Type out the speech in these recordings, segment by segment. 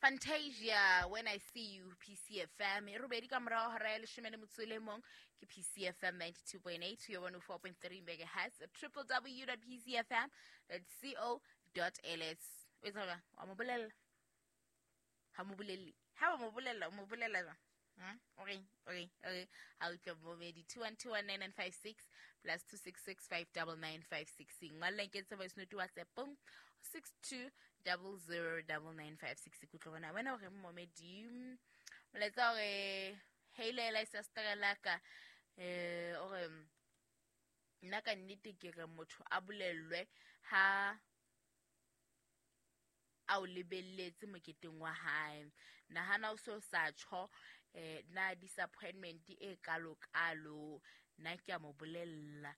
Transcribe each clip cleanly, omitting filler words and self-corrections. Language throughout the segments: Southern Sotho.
Fantasia, When I See You, PCFM. E robedi ka morao hora ya leshome le motso le mong ke PCFM 92.8 yo 104.3 megahertz, www.pcfm.co.ls. O etsa jwang? Wa mo bolella? Ha mo bolelle. Ha ba mo bolella, o mo bolella jwang? Hmm? O reng? O reng? O reng? Ha utlwa momedi 21219956 plus 26659956. Ngwalla nketse voice note WhatsApp-ong 62009956. Ke utlwa bona wena o reng momedi. Molaetsa o re heilela e sa laka o re nna ka nnete ke re motho a bolellwe ha a o lebelletse moketeng wa hae. Nahana o so sa tjho na disappointment e kalo kalo, nna ke a mo bolella.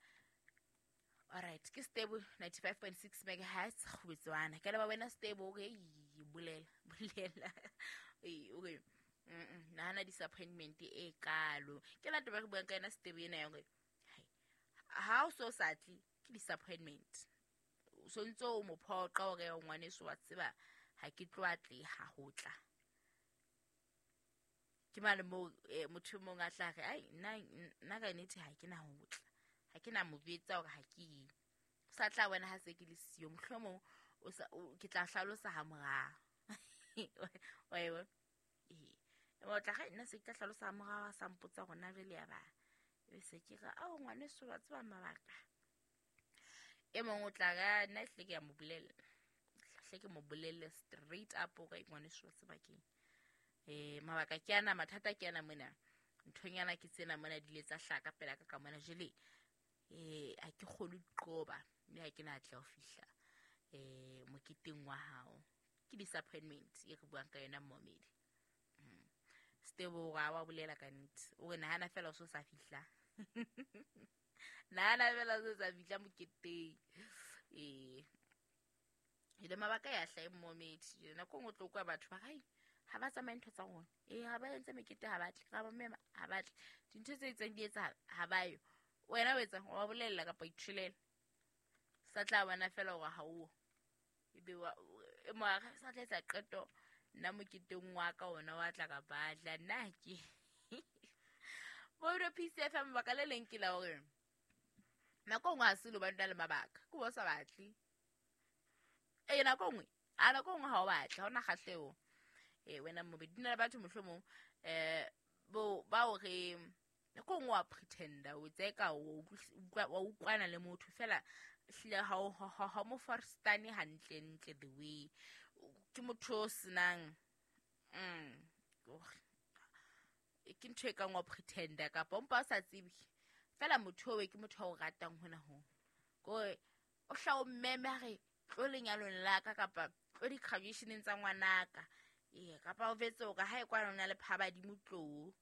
Alright, ke Stable 95.6 megahertz kgubetswana. Ke leba wena Stable, okay, bolela bolela. Ee, okay. Nahana disappointment e kalo. Ke la taba re buang ka yona Stable ena ya hore ha o so sa tle ke disappointment. O so ntse o mo phoqa hore ngwaneso wa tseba ha ke tlo atleha ho tla. Ke mane moo motho e mong a tla re ai nna ka nnete ha ke na ho tla. Ha ke na mo jwetsa hore ha ke ye. O sa tla wena ha se ke le siyo, mohlomong o sa ke tla hlalosa ha morao. Wa e bona? Ee. O tla re nna se ke tla hlalosa ha morao a sa mpotsa hore na jwale ya ba. Ebe se ke re ao ngwaneso wa tseba mabaka. E mong o tla re nna ehlile ke a mo bolella. Hle ke mo bolelle straight up hore ngwaneso wa tseba keng. Mabaka ke ana, mathata ke ana mona. Nthonyana ke tsena mona di ile tsa hlaka pela ka ka mona jwale ha ke kgone ho qoba mme ha ke na tla ho fihla moketeng wa hao. Ke disappointment e re buang ka yona momedi. Stebo wa bolela ka nnete. O re nahana fela o so sa fihla. Nahana fela o so sa fihla moketeng. Ile mabaka ya hlahe momedi. Nako e nngwe o tlo kwa batho ba re ha ba tsamaye ntho tsa rona. Ha ba entse mekete ha batle, ra ba mema ha batle. Dintho tse itseng di etsahala ha ba yo. Wena o etsang? Wa bolella kapa itholela? Sa tla bona fela hore ha o. Ebe wa e mo a sa tla etsa qeto nna moketeng wa ka ona wa tla ka batla nna ke. Bo PCFM mabaka le leng ke la hore nako nngwe ha se lo ba le mabaka. Ke bo sa batle. Nako nngwe, a nako nngwe ha o batle, ha ona kgahleho. Wena mobedi di na le batho mohlomong bo ba o re nako nngwe wa pretender o tseka wa utlwana le motho fela hlile ha mo forstane hantle ntle the way ke motho o senang ke ntho e kang wa pretender kapa o mpa o sa tsebe fela motho o ke motho a o ratang hona ho kore o hla o mmeme a re tlo lenyalong la ka kapa tlo di-graduationeng tsa ngwanaka. Kapa o vetse o ka ha e kwana o na le phabadimo tlo.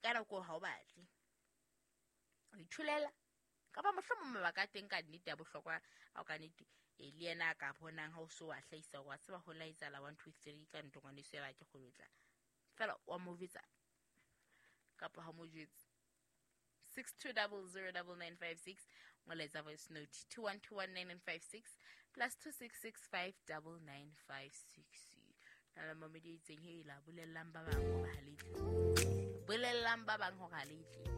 Ka nako ha o batle. O itholela. Kapa mohlomong mabaka a teng ka nnete ya bohlokwa ao ka nnete le yena a ka bonang ha o so wa hlahisa hore wa tseba ho la etsahala 1 2 3 ka ntho ngwaneso ya ba ke kgone ho tla. Fela wa mo jwetsa kapa ha mo jwetse. 62009956 molaetsa voice note 21219956 plus 26659956. Na le momedi e itseng he la bolellang ba bang hore ha le tle. Bolellang ba bang hore ha le tle.